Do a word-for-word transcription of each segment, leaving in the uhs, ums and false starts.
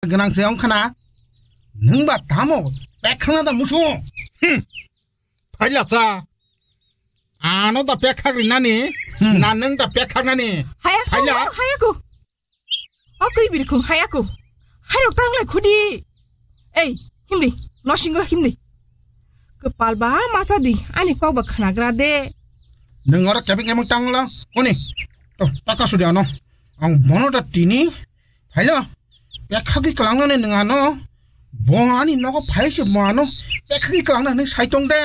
gwnang se wng khna. Nwng ba tamo pek khna da musu. Hmm. Phaila cha. Ano da pek khak rinani. Hmm. Na nwng da pek khak nani. Haya ko, Phaila. Haya ko. O kwi birkhung haya ko. Hairok tang lai khudi. Ei, himdi, nosingo himdi. Kwpal ba masa di, ani kok ba khnagra de. Nwng oro kebeng kebeng tang la. Oni. To, taka sudi ano. Ang bono da tini. Phaila. Pekhagi kalangnani nwng ano. Bo ani nogo phai se bo ano. Pekhagi kalangna nwng sai tong de.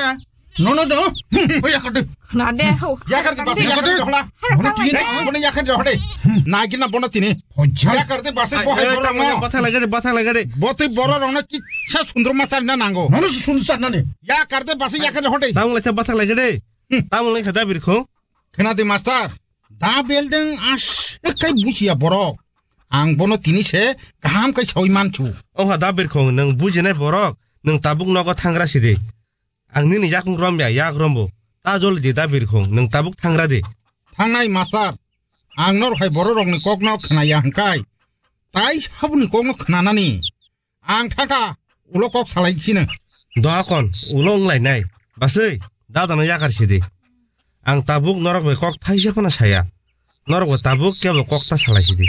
No, no, no. Hmm, o yakar de. Khna de, ho. Yakar de, bas, yakar de, hola. Bono tini, bono yakar de, hode. Hmm. Nagina bono tini. Hojai. Yakar de, bas, bo hai borok no. Bathak lagare, bathak lagare. Bo tei borok rok no kisa sundrum ma charina nango. Nono sundrum charnani. Yakar de, bas, yakar de, hode. Tamung laisa bathak lagare. Hmm. Tamung laisa da birkhung. Khna de, master. Da beldeng as kai busia borok. Ang bono tini se kaham kai sawi manchu. Oha da birkhung, nwng bujinai borok, nwng tabuk nogo thangra sidi. Ang nini yakung rom ya, yak rombo. Ta jol di da birkhung, nwng tabuk thangra di. Thangnai master, ang nor hai borok rokni kokno khna ya hwngkai. Tai sabuni kokno khnanani. Ang thangkha, ulo kok salai sino. Doakon, ulo wnglainai. Basui, dadano yakar sidi. Ang tabuk norok bai kok thaisa phano saya. Norok bo tabuk kebo kok ta salai sidi.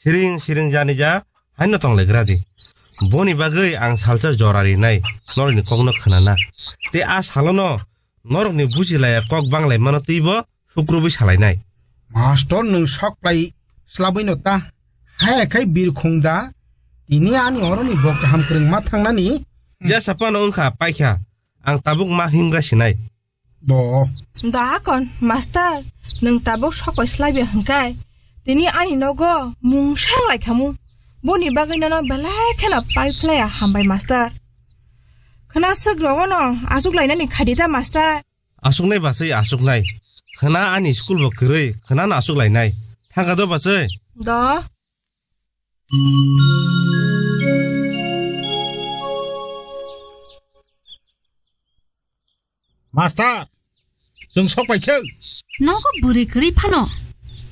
Siring, siring jani ja, haino tong lai gradi. Boni bagwi ang salsa jora rinai, norokni kokno khnana. Te a salono norokni buji laya kok banglai mano twibo, sukrubwi salainai. Master, nwng sok plai slabwi no ta. Haya khai birkhung da. Tini ani oroni bo kaham kwrwng ma thangnani. Jesa phano wngkha paikha. Ang tabuk ma himgra sinai. Bo. Da kon, master, nwng tabuk sok pai slabya hwngkai. Tini ani nogo mungsang lai khamu. Boni bagwi nono belai kheno pai phlaya hambai master. Khna swk rogono asuk lainani khadi da master. Asuknai basui asuknai. Khna ani school bo kwrwi, khna no asuk lainai. Thangka do basui? Do. Master, chwng sok pai khe. Nogo bwrwi kwrwi phano.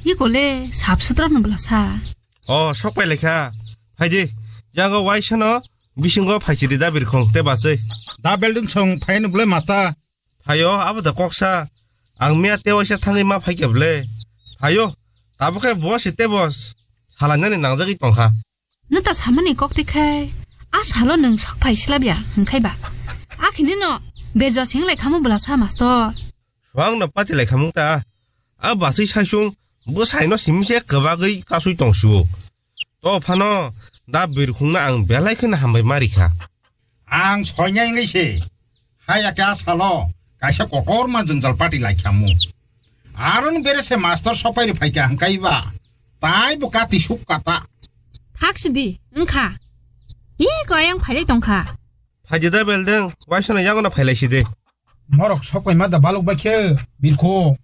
Ikole sap sutra no bwlasa. O, sok pai lekha. Phaidi, jago waisano bisingo phaichiri da birkhong te basui. Da building song phai no bwle master. Phaio, abo da koksa. Ang miya te waisa thangwi ma phaikhe bwle. Phaio, tabukhe bo se te bo salainani nangjagwi tongkha. Nwng ta samani kok tikhe, a salo nwng sok phai slabya hwnkhe ba. Akhini no bejo sing lai khamu bwlasa master. Swang no pati lai khamung ta. A basui saisung bwsai no simi se kwbagwi kasui tong siwo. To phano da birkhung no ang belai kheno hambai ma rikha. Ang soinai wngwi se, hai ya khe a salo kaisa kotorma jwngjal pati lai khamu. Aron bere se master sok pai ri phai kha hwnkhe ba, tai bo kati suk kata. Thak sidi, wngkha. Ih, ko ayang phailai tongkha. Phaidi da beldeng, waisano yagono phailai sidi. Norok sok pai ma da balok bai khe, birkho.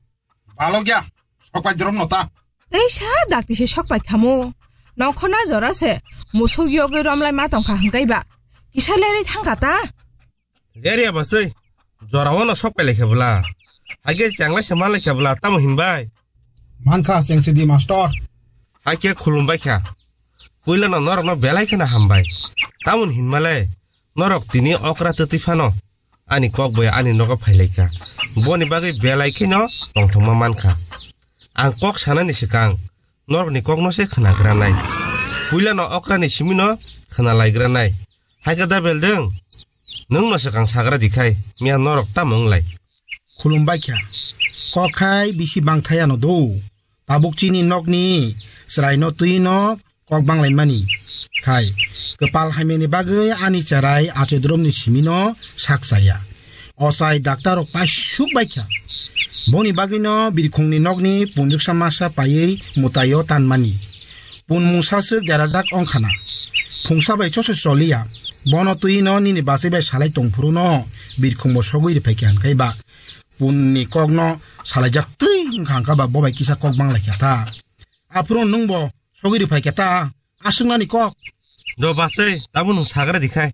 Balok ya, sok pai drom no ta. Tei sa dakti se sok pai khamu. Nongkhorna jora se, musuk yogwi romlai ma tongkha hwnkhe ba. Kisa lerwi thangkha ta. Lerya basui, jorao no sok pai lai khe bwla. Hage changlai se ma lai khe bwla, tamo hinbai? Mankha, cheng sidi master. Hakhe khulumbai kha. Puila no norok no belai kheno hambai. Tamoni hinmale, norok tini okra twtwi phano. Ani kok bai ani nogo phai lai kha. Boni bagwi belai kheno tongthokma man kha. Ang kok sanani swkang, norokni kokno se khna granai. Puila no okra ni simi no khna lai granai. Hai khe da beldeng, nwng no swkang sagra di khai, miya norok tamo wng lai. Khulumbai kha. Kok khai bisi bang thaya no do. Tabuk chini nokni chwrai no twi no kok bang lai mani. Khai, kwpal hamya ni bagwi ani chwrai achai drom ni simi no sak chaya. Ochai daktar rok paisuk bai kha. Boni bagwi no birkhung ni nokni punjuksa masa paiwi mwtai o tan mani. Pun mungsa swk derajak wng khana. Phungsa bai choso choliya. Bono twi no nini bachai bai salai tong phuru no birkhung bo sogwi rw phai kha hwnkhe ba pun ni kok no salaijak twi wng kha hwnkhe ba bo bai kisa kok bang lai kha ta. Aphuru nwng bo sogwi rw phai kha ta. Aswk nani kok. Do bachai, tabuk nwng sagra di khai.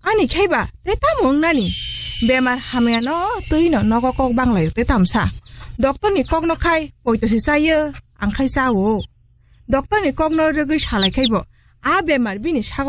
Ani khai ba, tei tamo wng nani? Bemar hamya no twi no nogo kok bang lai tei tamsa. Doctor ni kok no khai, poito se chayo, ang khai chao. Doctor ni kok no rwgwi salai khai bo, a bemar bini sago